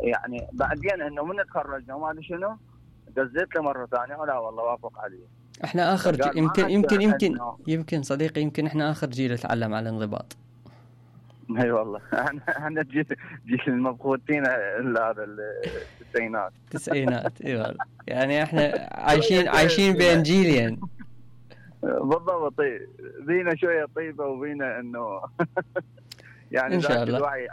يعني بعدين انه من تخرجنا وما ادري شنو، دزيت له مره ثانيه ولا والله وافق عليه. احنا اخر يمكن صديقي، يمكن احنا اخر جيل اتعلم على الانضباط. اي والله احنا جيل المبخوتين هذا التسعينات. اي والله يعني احنا عايشين بين جيلين بالضبط. بينا شويه طيبه وبينا انه يعني ان شاء الله الوعي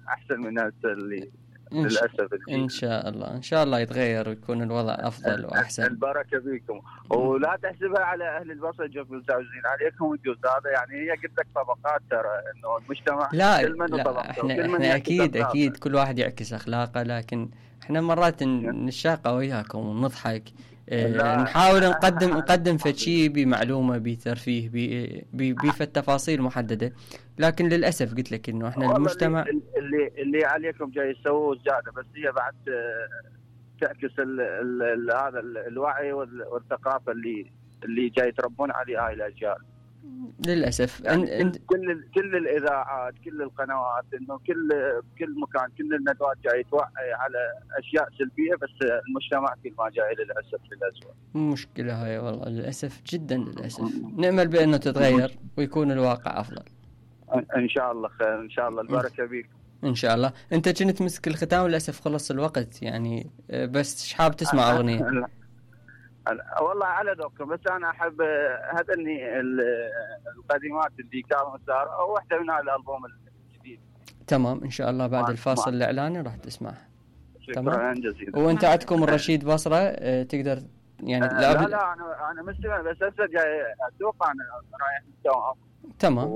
احسن من هسه اللي للاسف ان شاء الله يتغير ويكون الوضع افضل واحسن. البركه فيكم. ولا تحسبها على اهل البصره جوكم متجاوزين عليكم الجوز هذا، يعني هي قلت لك طبقات ترى، انه المجتمع لا احنا اكيد كل واحد يعكس اخلاقه، لكن احنا مرات نشاقه وياكم ونضحك، نحاول نقدم فشي بمعلومه بترفيه بفت تفاصيل محدده، لكن للاسف قلت لك انه احنا المجتمع اللي عليكم جاي يسووا زياده، بس هي بعد تعكس هذا الوعي والثقافه اللي جاي يتربون عليه هاي الاجيال للاسف. يعني كل الاذاعات، كل القنوات، انه كل مكان، كل الندوات جاي توعي على اشياء سلبيه، بس المجتمع كل ما جاي للاسف للأسوأ. مشكله هاي والله للاسف، جدا للاسف. نأمل بانه تتغير ويكون الواقع افضل ان شاء الله. خير ان شاء الله. البركه بيك ان شاء الله. انت كنت مسك الختام، للاسف خلص الوقت يعني، بس حاب تسمع اغنيه؟ والله على ذوقكم، بس انا احب هذني القديمات اللي كانوا صار، او واحده من الالبوم الجديد. تمام ان شاء الله بعد الفاصل الاعلاني راح تسمعها. شكرا جزيلا. وانت عندكم الرشيد بصره تقدر يعني لا انا مستمع، بس هسه جاي اسوق، انا رايح الدوام. تمام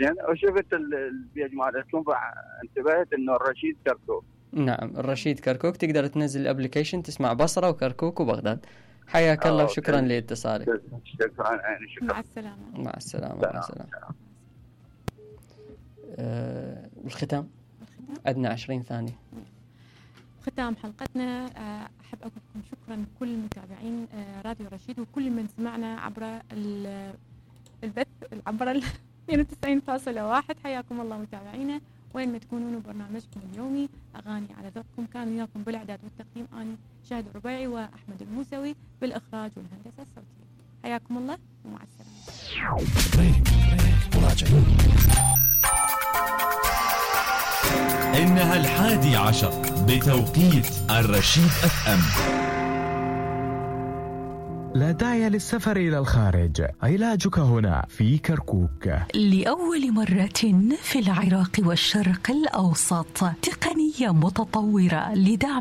زين. وشفت البيج مالتكم فانتبهت انه الرشيد كركوك. نعم الرشيد كركوك، تقدر تنزل الابليكيشن تسمع بصره وكركوك وبغداد. حياك الله وشكرا لاتصالك. شكرا عيني. شكرا. مع السلامه. الختام عندنا 20 ثانيه. ختام حلقتنا، احب اقول لكم شكرا لكل متابعين راديو رشيد وكل من سمعنا عبر البث عبر 92.1. حياكم الله متابعينا وين ما تكونون. برنامجكم اليومي اغاني على ذوقكم، كان وياكم بالاعداد والتقديم اني شاهد الربيعي واحمد الموسوي، بالاخراج والهندسه الصوتيه. حياكم الله ومع السلامه. إنها 11 بتوقيت الرشيد FM. لا داعي للسفر إلى الخارج، علاجك هنا في كركوك. لأول مرة في العراق والشرق الأوسط، تقنية متطورة لدعم